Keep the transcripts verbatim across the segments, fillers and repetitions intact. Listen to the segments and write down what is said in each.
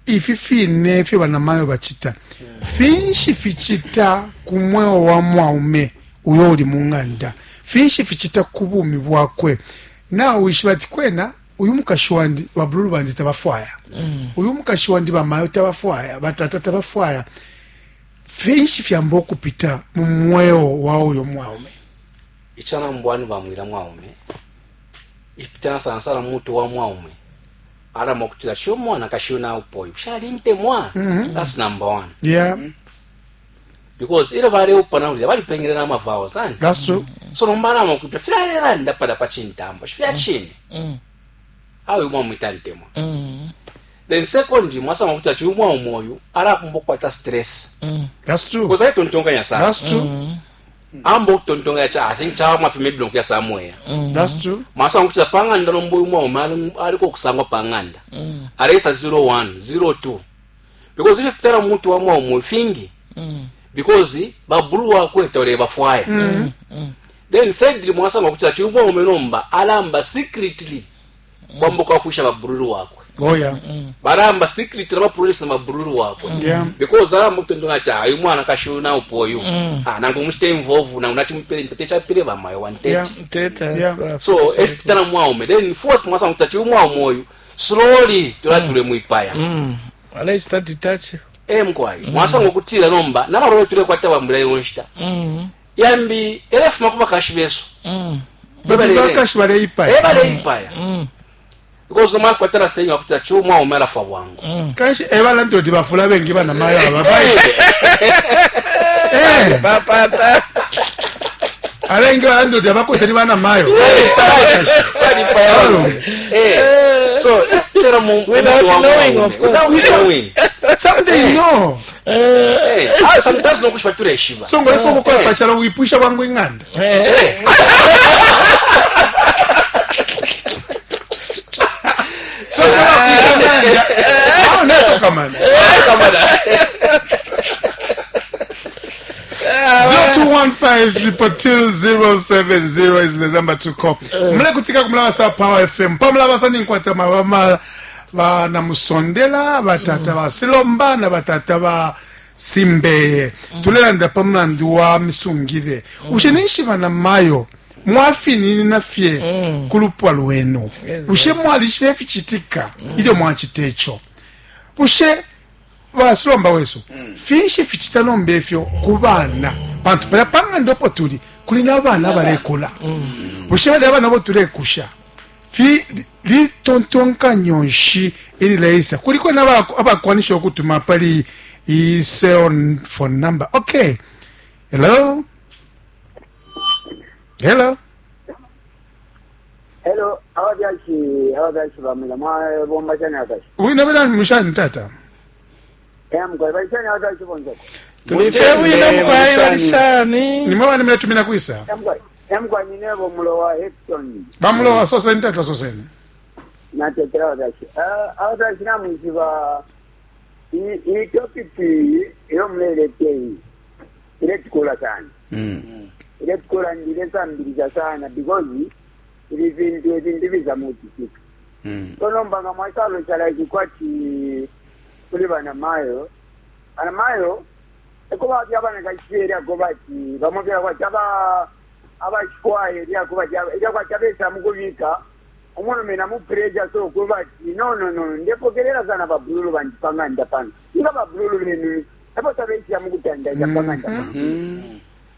Ifi fine ifyo banamayo bacita, finshi ficita ku mweo wa mwaume uyo uli mu ng'anda? Finshi ficita ku bumi bwakwe? Nawishiba ati kwena uyu mukashi wandi, babululu bandi tabafwaya, uyu mukashi wandi, bamayo tabafwaya, batata tabafwaya. Finshi fyamba okupita mu mweo wa uyo mwaume? Ichanambwani bamwila mwaume ipitana sana sana mutu wa mwaume alama okutila sho mwana kashiyo naupoyo shalintemwa. That's number one. Yeah because ile baleupana ulya balipengele na mavao sana. That's true. So nomba alama okutila filalelanda pada pa chintambo shifya chine awe mwamwita ntemwa. Then secondly, mwasama okutila chiyu mwaume oyu alakumba okukwata stress. That's true. Because ayitontonkanya sana. That's true. Amba okutontonkanya cha, I think chawa maybe nokuya somewhere. That's true. Mwasanga kutila pang'anda nomba uyu mwaume ali- aliko okusangwa pang'anda aleisa zero one zero two, because ifyo pitana mutu wa mwaume fingi, because babulu wakwe tole bafwaya. Then thirdly, mwasanga kutila chiyu mwaume nomba alamba secretly kwamba kwafusha babululu wakwe. Oh yeah. Balamba secretly bapululisa mabululu wakwe. Yeah. Because alamba kutontonga cha uyu mwana kashiu na upoyu, ah, nangu muchite involve nangu nachimupele mpete chapile bamayo one thirty. Yeah. Teta. Yeah. So efipitana mwaume. Then fourth, mwasanga kuti chiyu mwaume oyu slowly tulatule mwipaya. Aleista detach. E mkwai, mwasanga okutila nomba namalolo tulekwata bambula yonshita yambi elefuma kubakashi besu. Bakashi baleipaya. E baleipaya, because nomwa kwatana senyi wakutila chiyu mwaume alafwa bwangu. Kanshi ebalanda oti bafula bengi banamayo ababayi. Eh, Papata. Abengi balanda oti abakwete ni banamayo. Balipaya Abalume. Eh, so tera mu Without mu- wa knowing, mwaume. of course. Without knowing. Some they know. Eh, ah, sometimes nokushwa tuleshiba. So ngoifa okukola pachala wipusha bwangu ing'anda. Eh. So ngabakwisha ng'anda awo nesokamana. zero two one five triple two zero seven zero is the number to call. Mule kutika kumulabasa Power F M pamulabasa ninkwata mabama banamusondela batata basilomba na batata ba simbeye. Tulelanda pamulandu wa misungile. Ushe ninshi banamayo mwafininina fye kulupwa lwenu? Ushe mwalishibe fichitika ilyo mwachita icho? Ushe basilomba wesu, finshi fichita nomba ifyo ku bana? Pantu palya pang'anda opo tuli kuli n'abaana balekula. Bushe bali abana bo tulekusha fi litontonkanyo nshi ilileisa kuliko n'aba- abakwanisha okutuma pali i cell phone number? Okay, hello, hello. Hello, ababyashi ababyashi bamwila mwabomba shani akashi? Winabela mushani tata? Emkwai balishani ababyashi bonzeko? Tulife bwino mkwai, balishani? Nimwe bani muletumina kwisa? Emkwai emkwai ninebo mulowa Hecton. Bamulowa, soseni tata, soseni. Natetera ababyashi. Ababyashi namwishiba iyi topic iyo mulelete iyi iletukula sana, iletukula ndilesambiliza sana, because ibi vintu ebintu biza muchitika. So nomba nga mwasalo like kwati kuli banamayo banamayo eko bapya abana kachiyeri ako bati bamupya kwati aba abachikwaye lyako bati lyakwati abesa mukubika omwana namu pressure. So kubati no no no ndepokerera sana babululu bandi pang'anda pano inga babululu benu epo tabeisya mukutandanya pang'anda pano.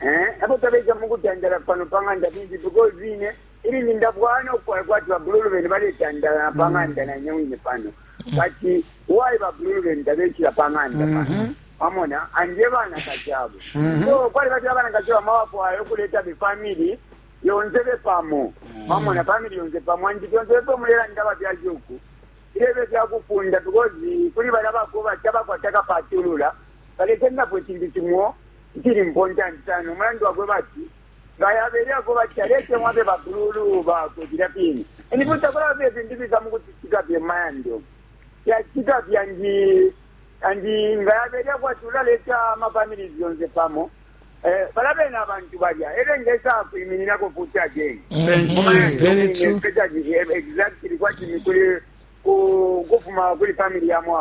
Eh, epo tabeisya mukutandala pano pang'anda bingi, because ine ili nindabwana okukola kwati babululu benu baletandala pang'anda nanyewine pano, but why babululu benu tabeisira pang'anda pano? Wamona anje bana kachabo. So kwali bati abana kachabo mawafwayo okuleta befamily yonse bepamo. Wamona family yonse pamo andi byonse bepo mulela ndaba byajuku ilebe byakufunda, because kuli bala bakuba tabakwata kapatulula baletengapo ekintu kimwo kiri important sana. Omulandu wakwe bati ngayaberyako bati alete mwabe babululu bakwe bila pini enibutakula be ebintu biza mukutitika byemayando yatika byanji andi ngayaberya kwati ulaleta amafamilies yonse pamo. Eh, balabe n'abantu balya era ngesa kuyimirirako futi again. Thank you. Very true. Exactly kwati kuli ku- kufuma kuli family ya mwawo.